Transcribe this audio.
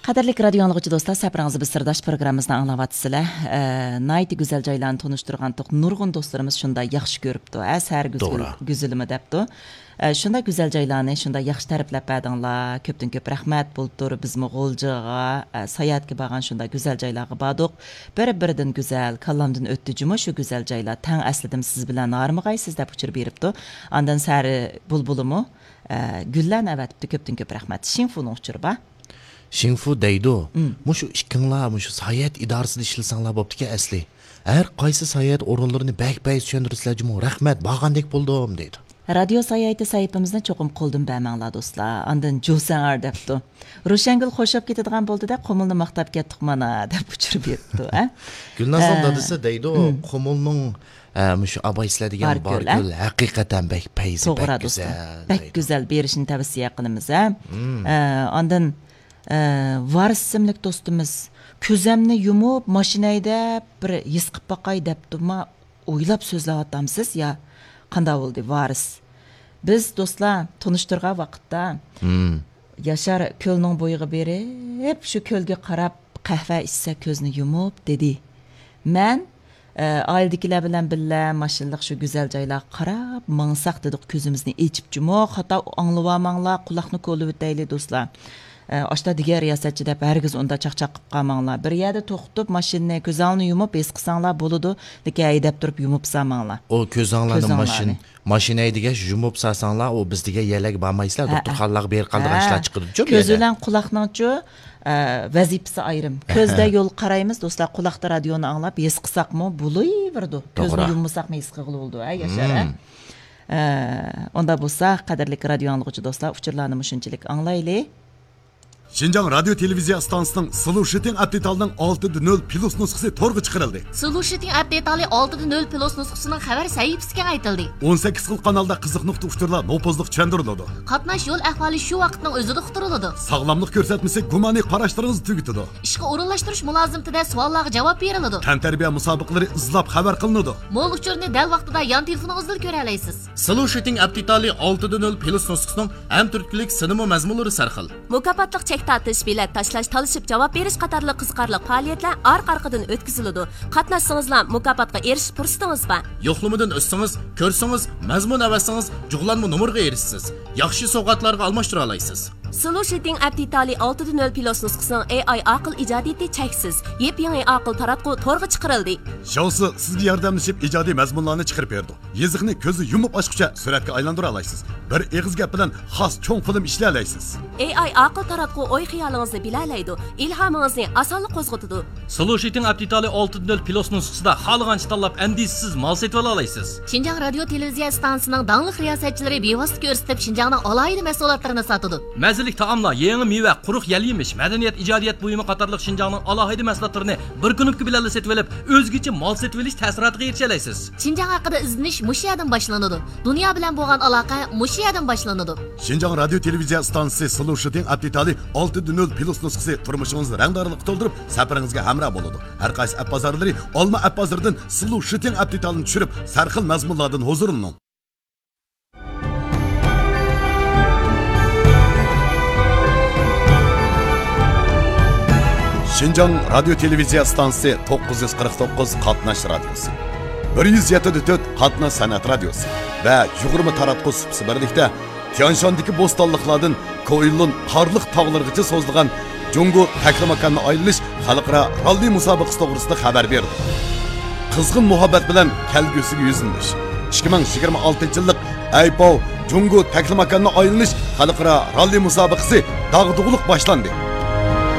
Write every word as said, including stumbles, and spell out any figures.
قەدىرلىك رادىيو ئاڭلىغۇچى دوستلار، سەپىرىڭىزدە بىز سىرداش پروگراممىمىزنى ئاڭلاۋاتىسىلەر. ئە، ناھايىتى گۈزەل جايلارنى تونۇشتۇرغانتۇق. نۇرغۇن دوستلىرىمىز شۇنداق ياخشى كۆرۈپتۇ. ئە، سەھەر گۈزگۈل-، توغرا. گۈزىلىمۇ دەپتۇ. ئە، شۇنداق گۈزەل جايلارنى شۇنداق ياخشى تەرىپلەپ بەردىڭلار. كۆپتىن كۆپ رەھمەت. بۇلتۇر بىزمۇ غۇلجىغا، ئە، ساياھەتكە بارغان شۇنداق گۈزەل جايلارغا باردۇق. بىر-بىرىدىن گۈزەل، كاللامدىن ئۆتتى جۇمۇ شۇ گۈزەل جايلار. تەڭ ئەسلىدىم سىز بىلەن ھارمىغايسىز دەپ ئۇچۇر بېرىپتۇ. ئاندىن سەھەر بۇلبۇلىمۇ، ئە، گۈللەرنى ئەۋەتىپتۇ. كۆپتىن كۆپ رەھمەت. شىڭفۇنىڭ ئۇچۇرى بار. شىڭفۇ دەيدۇ، مم. مۇشۇ ئىككىڭلار مۇشۇ ساياھەت ئىدارىسىدا ئىشلىسەڭلار بوپتىكەن ئەسلى. ھەر قايسى ساياھەت ئورۇنلىرىنى بەك بەك چۈشەندۈرىسىلەر جۇمۇ. رەھمەت، بارغاندەك بولدۇم دەيدۇ. رادىيو ساياھىتى سەھىپىمىزنى چوقۇم قولدىن بەرمەڭلار دوستلار. ئاندىن جوسەڭار دەپتۇ. روشەنگۈل خوش بولۇپ كېتىدىغان بولدى-دە، قۇمۇلنى ماختاپ كەتتۇق مانا دەپ ئۇچۇر بېرىپتۇ، ھە؟ گۈلنازنىڭ ئە، دادىسى دەيدۇ، مم. قۇمۇلنىڭ، ئە، مۇشۇ ئابايسىلەر دېگەن باركۆل، باركۆل، ھە؟ ھەقىقەتەن بەك پەيزى، توغرا بەك دوستلار. گۈزەل بەك دەيدۇ. گۈزەل، بېرىشنى تەۋسىيە قىلىمىز، ھە؟ مم. ئە، ئاندىن، ئە، ۋارىس ئىسىملىك دوستىمىز، كۆزەمنى يۇمۇپ ماشىنا ھەيدەپ بىر ھېس قىپ باقاي دەپتۇما، ئويلاپ سۆزلەۋاتامسىز يا قانداق بولدى ۋارىس؟ بىز دوستلار تونۇشتۇرغان ۋاقىتتا، مم. ياشار كۆلنىڭ بويىغا بېرىپ، شۇ كۆلگە قاراپ قەھۋە ئىچسە كۆزنى يۇمۇپ دېدى. مەن، ئە، ئائىلىدىكىلەر بىلەن بىللە ماشىنىلىق شۇ گۈزەل جايلارغا قاراپ ماڭساق دېدۇق، كۆزىمىزنى ئېچىپ جۇمۇ. خاتا ئاڭلىۋالماڭلار، قۇلاقنى كولىۋېتەيلى دوستلار. ئە، ئاشتا دېگەن رىياسەتچى دەپ ھەرگىز ئۇنداق چاقچاق قىپ قالماڭلار. بىر يەردە توختىتىپ ماشىنىنى كۆزۈڭلارنى يۇمۇپ ھېس قىلساڭلار بولىدۇ، لېكىن ھەيدەپ تۇرۇپ يۇمۇپ سالماڭلار. ئۇ كۆزۈڭلارنى كۆزۈڭلارنى. ماشىن ماشىنا ھەيدىگەچ يۇمۇپ سالساڭلار، ئۇ بىز دېگەن يەرلەرگە بارمايسىلەر، ھە. دوختۇرخانىلارغا بېرىپ قالىدىغان ھە. ئىشلار چىقىدۇچۇ بۇ كۆز يەردە. بىلەن قۇلاقنىڭچۇ، ئە، ۋەزىپىسى ئايرىم. ھە. كۆزدە يول قارايمىز، دوستلار، قۇلاقتا رادىيونى ئاڭلاپ ھېس قىلساقمۇ بولۇۋېرىدۇ. كۆزنى توغرا. يۇممىساقمۇ ھېس قىلغىلى بولىدۇ، ھە، ياشار، ھە؟ مم. ئە، ئۇنداق بولسا، قەدىرلىك رادىيو ئاڭلىغۇچى دوستلار، ئۇچۇرلارنى مۇشۇنچىلىك ئاڭلايلى. شىنجاڭ رادىيو تېلېۋىزىيە ئىستانسىسىنىڭ سلوشىتىڭ ئەپ دېتالىنىڭ ئالتىدە نۆل پلۇس نۇسخىسى تورغا چىقىرىلدى. سلوشىتىڭ ئەپ دېتالى ئالتىدە نۆل پلۇس نۇسخىسىنىڭ خەۋەر سەھىپىسى كېڭەيتىلدى. ئون سەككىز خىل قانالدا قىزىق نۇقتا ئۇچۇرلار نوپۇزلۇق چۈشەندۈرۈلىدۇ. قاتناش يول ئەھۋالى شۇ ۋاقىتنىڭ ئۆزىدە ئۇقتۇرۇلىدۇ. ساغلاملىق كۆرسەتمىسى گۇمانىي قاراشلىرىڭىزنى تۈگىتىدۇ. ئىشقا ئورۇنلاشتۇرۇش مۇلازىمىتىدە سوئاللارغا جاۋاب بېرىلىدۇ. تەنتەربىيە مۇسابىقىلىرى ئىزلاپ خەۋەر قىلىنىدۇ. مول ئۇچۇرنى دەل ۋاقتىدا يان تېلېفونىڭىزدىلا كۆرەلەيسىز. سلوشىتىڭ ئەپ دېتالى ئالتىدە نۆل پلۇس نۇسخىسىنىڭ ھەم تۈرتكىلىك سىنىمۇ مەزمۇنلىرى سەرخىل. مۇكاپاتلىق چەك تارتىش، بېلەت تاشلاش، تالىشىپ جاۋاب بېرىش قاتارلىق قىزىقارلىق پائالىيەتلەر ئارقا-ئارقىدىن ئۆتكۈزۈلىدۇ. قاتناشسىڭىزلا مۇكاپاتقا ئېرىشىش پۇرسىتىڭىز بار. يوقلىمىدىن ئۆتسىڭىز، كۆرسىڭىز، مەزمۇن ئەۋەتسىڭىز، جۇغلانما نومۇرغا ئېرىشىسىز. ياخشى سوۋغاتلارغا ئالماشتۇرالايسىز. سلوشىتىڭ ئەپ دېتالى ئالتىدە نۆل پلۇس نۇسخىسىنىڭ ئېي ئاي ئاقىل ئىجادىيىتى چەكسىز. يېپيېڭى ئاقىل تاراتقۇ تورغا چىقىرىلدى. شاۋسى سىزگە ياردەملىشىپ ئىجادىي مەزمۇنلارنى چىقىرىپ بېرىدۇ. يېزىقنى كۆزنى يۇمۇپ ئاچقۇچە سۈرەتكە ئايلاندۇرالايسىز. بىر ئېغىز گەپ بىلەن خاس چوڭ فىلىم ئىشلىيەلەيسىز. ئېي ئاي ئاقىل تاراتقۇ ئوي خىيالىڭىزنى بىلەلەيدۇ، ئىلھامىڭىزنى ئاسانلا قوزغىتىدۇ. سلوشىتىڭ ئەپ دېتالى ئالتىدە نۆل پلۇس نۇسخىسىدا خالىغانچە تاللاپ ئەندىشىسىز مال سېتىۋالالايسىز. شىنجاڭ رادىيو تېلېۋىزىيە ئىستانسىسىنىڭ داڭلىق رىياسەتچىلىرى بىۋاسىتە كۆرسىتىپ شىنجاڭنىڭ ئالاھىدە مەھسۇلاتلىرىنى ساتىدۇ. مەززىلىك تائاملار، يېڭى مېۋە، قۇرۇق يەل يېمىش، مەدەنىيەت، ئىجادىيەت بۇيۇمى قاتارلىق شىنجاڭنىڭ ئالاھىدە مەھسۇلاتلىرىنى بىر كۇنۇپكا بىلەنلا سېتىۋېلىپ، ئۆزگىچە مال سېتىۋېلىش تەسىراتىغا ئېرىشەلەيسىز. شىنجاڭ ھەققىدە ئىزدىنىش مۇشۇ يەردىن باشلىنىدۇ. دۇنيا بىلەن بولغان ئالاقە مۇشۇ يەردىن باشلىنىدۇ. شىنجاڭ رادىيو تېلېۋىزىيە ئىستانسىسى سلوشىتىڭ ئەپ دېتالى ئالتىدە نۆل پلۇس نۇسخىسى تۇرمۇشىڭىزنى رەڭدارلىققا تولدۇرۇپ، سەپىرىڭىزگە ھەمراھ بولىدۇ. ھەر قايسى ئەپ بازارلىرى، ئالما ئەپ بازىرىدىن سلوشىتىڭ ئەپ دېتالىنى چۈشۈرۈپ، سەرخىل مەزمۇنلاردىن ھۇزۇرلىنىڭ. شىنجاڭ رادىيو تېلېۋىزىيە ئىستانسىسى توققۇز يۈز قىرىق توققۇز قاتناش رادىيوسى، بىر يۈز يەتتە تۆت قاتناش سەنئەت رادىيوسى ۋە يىگىرمە تاراتقۇ سۇپىسى بىرلىكتە تيانشاندىكى بوستانلىقلاردىن كوئىلۇن قارلىق تاغلىرىغىچە سوزۇلغان جۇڭگو تەكلىماكاننى ئايلىنىش خەلقئارا راللى مۇسابىقىسى توغرىسىدا خەۋەر بېرىدۇ. قىزغىن مۇھەببەت بىلەن كەلگۈسىگە يۈزلىنىش. ئىككى مىڭ يىگىرمە ئالتىنچى يىللىق ئەيپاۋ جۇڭگو تەكلىماكاننى ئايلىنىش خەلقئارا راللى مۇسابىقىسى داغدۇغىلىق باشلاندى.